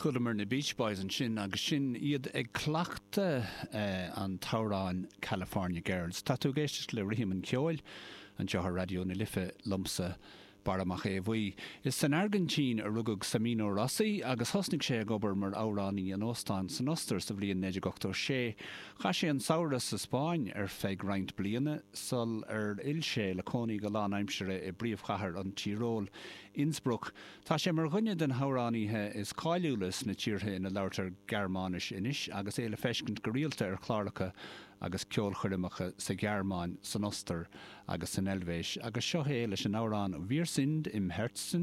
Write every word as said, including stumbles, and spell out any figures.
Chualamar na Beach Boys ansin agus sin iad ag cleachtadh eh, an t-amhrán California Girls. Tá tú ag éisteacht le Rithim an Cheoil anseo ar Raidió na Life liomsa Barra Mac Aodha Bhuí. Is san Airgintín a rugadh Semino Rossi agus thosnaigh sé ag obair mar amhránaí in óstán san Ostair sa bhliain naoi déag ochtó sé. Chaith sé an samhradh sa Spáinn ar feadh roinnt bliana sul ar fhill sé le cónaí go lánaimseartha i bpríomhchathair an Tíoróil, Innsbruck. Tá sé mar dhuine de na hamhránaithe is cáiliúla sna tíortha ina labhartar Gearmáinis anois agus é le feiscint go rialta ar chláracha agus ceolchoirmeacha sa Ghearmáin, san Ostair agus san Eilvéis, agus seo é leis an amhrán Wir sind im Herzen